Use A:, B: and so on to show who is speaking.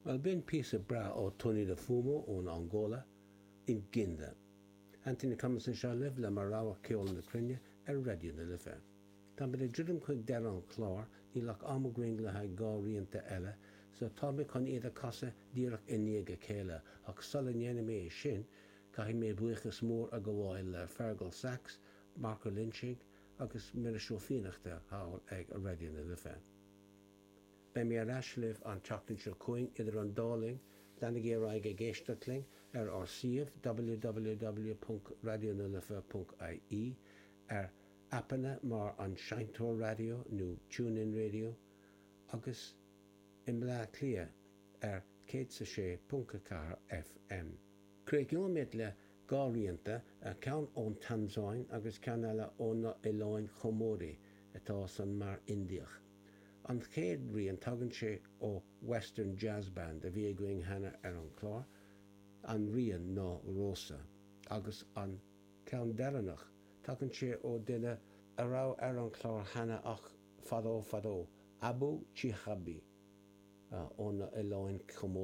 A: Bhuel, b'in píosa breá ó Tony de Fumo ón Angóla, Nginda. Anthony Cummins anseo libh le mo rogha ceol na cruinne ar Raidió na Life. Táimid ag druidim chuig deireadh an chláir, níl ach am againn le haghaidh 2 rianta eile, so tá mé chun iad a chasadh díreach i ndiaidh a chéile, ach sula ndéana mé é sin, caithfidh mé buíochas mór a ghabháil le Feargal Sachs, Marc Ó Loinsigh agus Muiris Ó Fiannachta thall ag Raidió na Life. Beidh mé ar ais libh an tseachtain seo chugainn. Idir an dá linn, leanaigí ar aghaidh ag éisteacht linn ar ár suíomh www.raidionalife.ie, ar aipeanna mar An Seinnteoir Raidió nó TuneIn Radio, agus i mBleá Cliath ar 106.4 FM. Críochnóimid le 2 rianta, ceann ón Tansáin agus ceann eile ó na Oileáin Chomóraí atá san Mar Indiach. An chéad rian, tagann sé ó Western Jazz Band a bhí againn cheana ar an chlár, an rian ná Rosa. Agus an ceann deireanach, tagann sé ó duine a raibh ar an chlár cheana ach fadó fadó, Abu Chihabi ó na Oileáin Chomóraí.